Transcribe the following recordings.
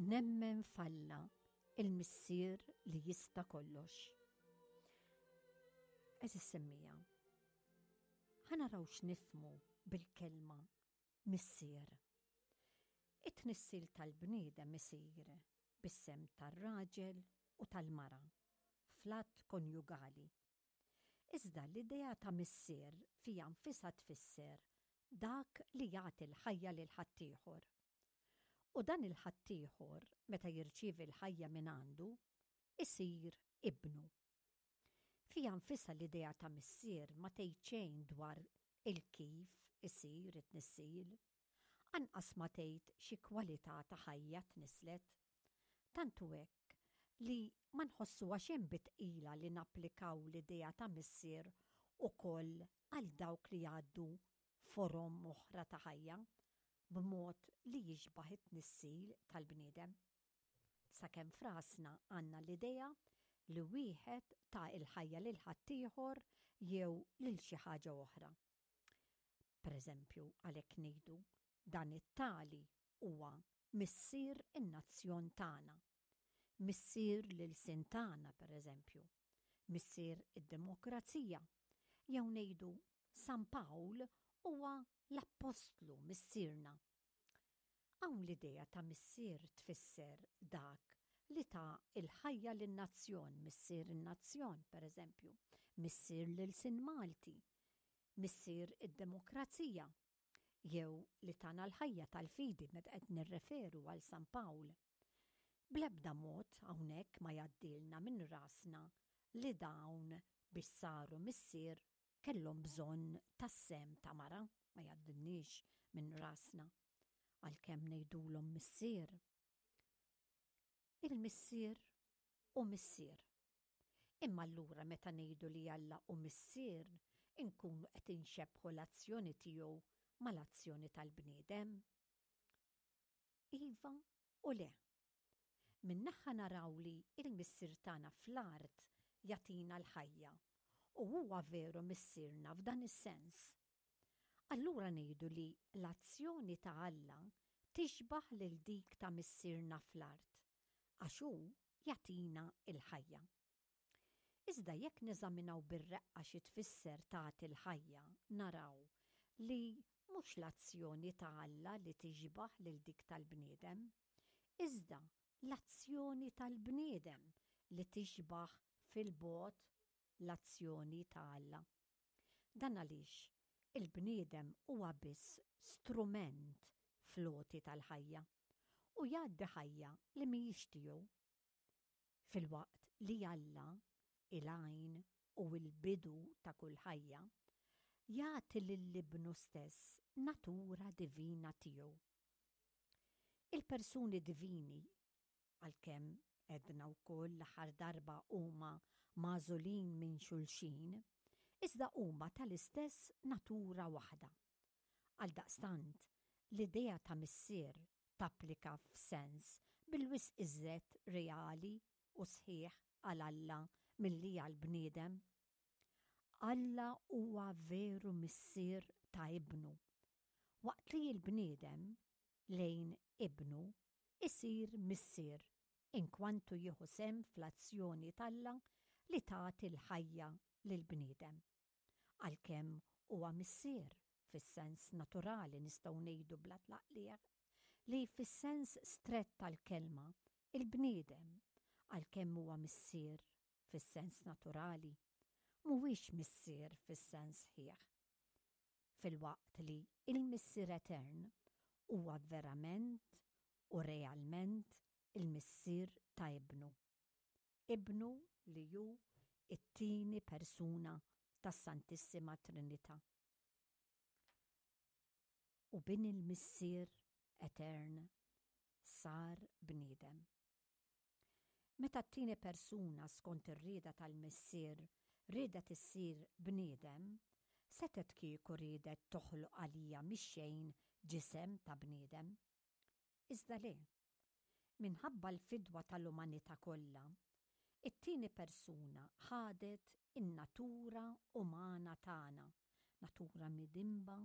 Nemmen f'Alla, il-Missier li jista' kollox. Għeżież semmiegħa, ħa naraw x'nifhmu bil-kelma Missier. It-tnissil tal-bniedem isir bis-sehem tar-raġel u tal-mara fl-att konjugali. Iżda l-idea ta' missier fiha nfisha tfisser dak li jagħti l-ħajja lil ħaddieħor. U dan il-ħaddieħor meta jirċievi l-ħajja mingħandu, isir ibnu. Fiha nfisha l-idea ta' missier ma tgħid xejn dwar il-kif isir it-tnissil. Anqas ma tgħid xi kwalità ta' ħajja tnisslet. Tant hu hekk li ma nħossuha xejn bi tqila li napplikaw l-idea ta' missier ukoll għal dawk li jgħaddu forom oħra ta' ħajja b'mod li jixbah it-tnissil tal-bniedem. Sakemm f'rasna għandna l-idea li wieħed ta l-ħajja lil ħaddieħor jew lil xi ħaġa oħra. Pereżempju, għalhekk ngħidu, dan it-tali huwa missier in-nazzjon tagħna. Missier l-ilsien tagħna, pereżempju. Missier id-demokrazija. Jew ngħidu San Pawl huwa l-appostlu missierna. Hawn l-idea ta' missier tfisser dak li ta l-ħajja lin-nazzjon, missier in-nazzjon, pereżempju, missier l-ilsien Malti, missier id-demokrazija, jew li tana l-ħajja tal-fidi meta qed nirreferu għal San Pawl. Bl-ebda mod hawnhekk ma jgħaddilna minn rasna li dawn biex saru missier kellhom bżonn tas-sehem ta' mara, ma jgħaddilniex minn rasna, għalkemm ngħidulhom missier. Il-missier hu missier. Imma allura meta ngħidu li Alla hu missier, inkunu qed inxebbħu l-azzjoni tiegħu mal-azzjoni tal-bniedem? Iva u le. Minn naħa naraw li l-Missier tagħna fl-art jagħtina l-ħajja u huwa veru Missierna f'dan is-sens. Allura ngħidu li l-azzjoni ta' Alla tixbah lil dik ta' Missierna fl-art, għax hu jagħtina l-ħajja. Iżda jekk neżaminaw bir-reqqa xi tfisser tagħti l-ħajja, naraw li mhux l-azzjoni ta' Alla li tixbah lil dik tal-bniedem, iżda l-azzjoni tal-bniedem li tixbah fil-bogħod l-azzjoni ta' Alla. Dan għaliex il-bniedem huwa biss strument fl-għoti tal-ħajja u jgħaddi ħajja li mhijiex tiegħu. Filwaqt li Alla, il-għajn u l-bidu ta' kull ħajja, jagħti lil Ibnu stess natura divina tiegħu. Il-persuni divini, għalkemm għedna wkoll l-aħħar darba huma magħżulin minn xulxin, iżda huma tal-istess natura waħda. Għaldaqstant, l-idea ta' Missier tapplika f'sens bil-wisq iżjed reali u sħiħ għal Alla milli għall-bniedem. Alla huwa veru Missier ta' Ibnu, waqt li l-bniedem lejn Ibnu isir missier inkwantu jieħu sehem fl-azzjoni t'Alla li tagħti l-ħajja lill-bniedem. Għalkemm huwa missier fis-sens naturali nistgħu ngħidu bla tlaqliq li fis-sens strett tal-kelma il-bniedem, għalkemm huwa missier fis-sens naturali, mhuwiex missier fis-sens sħiħ. Filwaqt li l-Missier Etern huwa verament u realment il-Missier ta' Ibnu. Ibnu li hu t-tieni persuna tas-Santissima Trinità. U Bin il-Missier Etern sar bniedem. Meta t-tieni persuna skont ir-rieda tal-Missier riedet issir bniedem, setgħet kieku riedet toħloq għalija mix-xejn ġisem ta' bniedem. Iżda le. Minħabba l-fidwa tal-umanità kollha, it-tieni persuna ħadet in-natura umana tagħna, natura midinba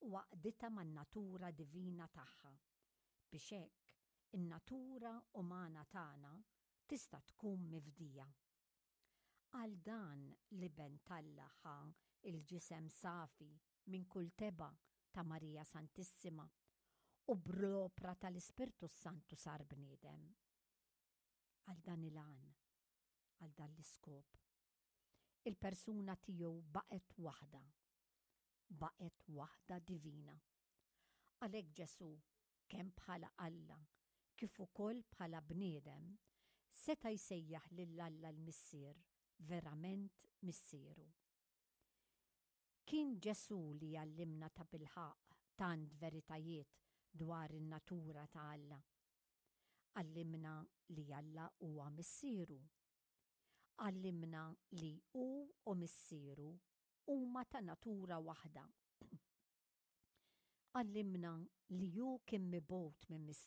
u għaqqditha man-natura divina tagħha, biex hekk. In-natura umana tagħna tista' tkun mifdija. Għal dan l-Iben t'Alla ħa l-ġisem safi minn kull tebgħa ta' Marija Santissima u bl-opra tal-Ispirtu s-Santu sar bniedem. Għal dan il-għan, għal dan l-iskop. Il-persuna tiegħu baqgħet waħda, baqgħet waħda divina. Għalhekk Ġesù, kemm bħala Alla kif ukoll bħala bniedem, seta' jsejjaħ lil Alla l-Missier verament Missieru. Kien Ġesù li għallimna tabilħaqq tant veritajiet dwar in-natura ta' Alla. Għallimna li Alla huwa Missieru. Għallimna li hu u Missieru huma ta' natura waħda. Għallimna li hu kien mibgħut minn Missieru.